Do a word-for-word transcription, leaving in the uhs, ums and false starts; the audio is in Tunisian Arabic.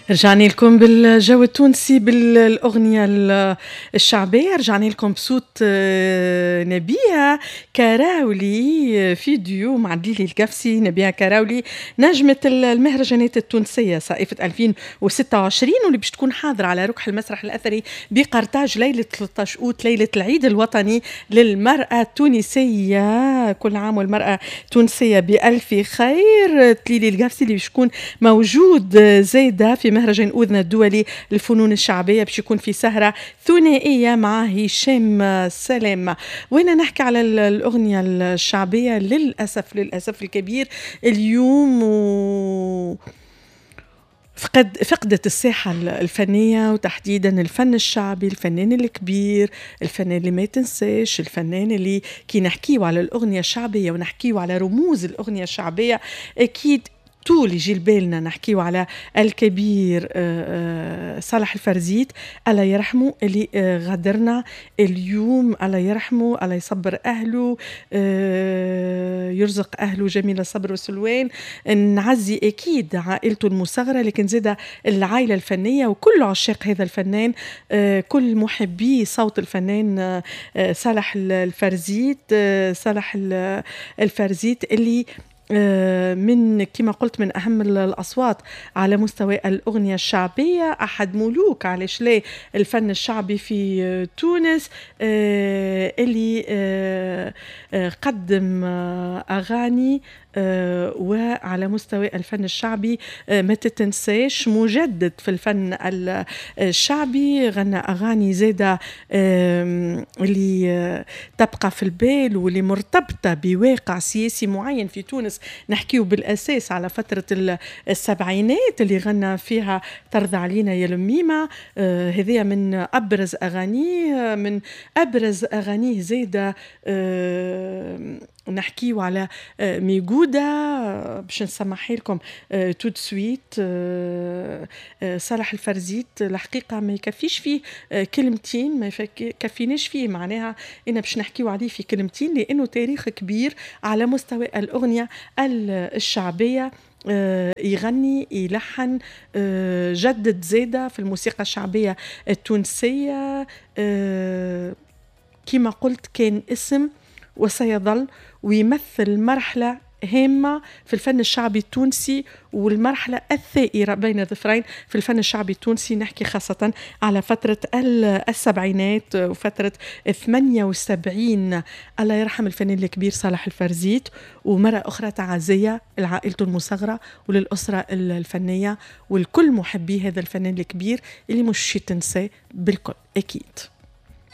رجعنا لكم بالجو التونسي بالأغنية الشعبية، رجعنا لكم بصوت آه، نبيهة كراولي في ديو مع دليلي القفصي. نبيهة كراولي نجمة المهرجانات التونسية صائفة ألفين وستة وعشرين، واللي باش تكون حاضرة على ركح المسرح الأثري بقرطاج ليلة ثلاثة عشر أوت، ليلة العيد الوطني للمرأة التونسية. كل عام والمرأة التونسية بألف خير. تليلي القفصي اللي باش يكون موجود زايدة في مهرجان أوذنة الدولي للفنون الشعبية، باش يكون في سهرة ثنائية مع هشام سلام. وانا نحكي على الأغنية الشعبية، للأسف للأسف الكبير اليوم و فقد فقدت الساحة الفنية وتحديدا الفن الشعبي، الفنان الكبير، الفنان اللي ما تنساش، الفنان اللي كي نحكيو على الأغنية الشعبية ونحكيو على رموز الأغنية الشعبية أكيد طول يجي لبالنا نحكيو على الكبير آه، آه، صالح الفرزيت، الله يرحمه، اللي آه، غادرنا اليوم. الله يرحمه، الله يصبر أهله، يرزق أهله جميل الصبر والسلوان. نعزي أكيد عائلته المصغرة، لكن زاد العائلة الفنية وكل عشاق هذا الفنان، كل محبي صوت الفنان صالح الفرزيت. صالح الفرزيت اللي آه، من كما قلت من أهم الأصوات على مستوى الأغنية الشعبية، أحد ملوك علاش لا الفن الشعبي في تونس، آه، اللي آه، قدم أغاني وعلى مستوى الفن الشعبي ما تتنساش، مجدد في الفن الشعبي، غنى أغاني زادة اللي تبقى في البال واللي مرتبطة بواقع سياسي معين في تونس. نحكيو بالأساس على فترة السبعينات اللي غنى فيها ترضى علينا يا لميمة، آه، هذه من أبرز أغانيه. من أبرز أغانيه زادة آه، نحكيو على آه، ميقودة، باش نسمعها لكم tout de suite. صالح الفرزيت الحقيقة ما يكفيش فيه كلمتين، ما يكفيناش فيه معناها إن باش نحكيو عليه في كلمتين، لأنه تاريخ كبير على مستوى الأغنية الشعبية. آه، يغني، يلحن، آه، جدد زادة في الموسيقى الشعبية التونسية. آه، كما قلت كان اسم وسيظل ويمثل مرحلة هامة في الفن الشعبي التونسي والمرحلة الثائرة بين ظفرين في الفن الشعبي التونسي. نحكي خاصة على فترة السبعينات وفترة ثمانية وسبعين. الله يرحم الفنان الكبير صالح الفرزيت، ومرة أخرى تعازية لعائلته المصغرة وللأسرة الفنية ولكل محبي هذا الفنان الكبير اللي مش تنسى بالكل أكيد.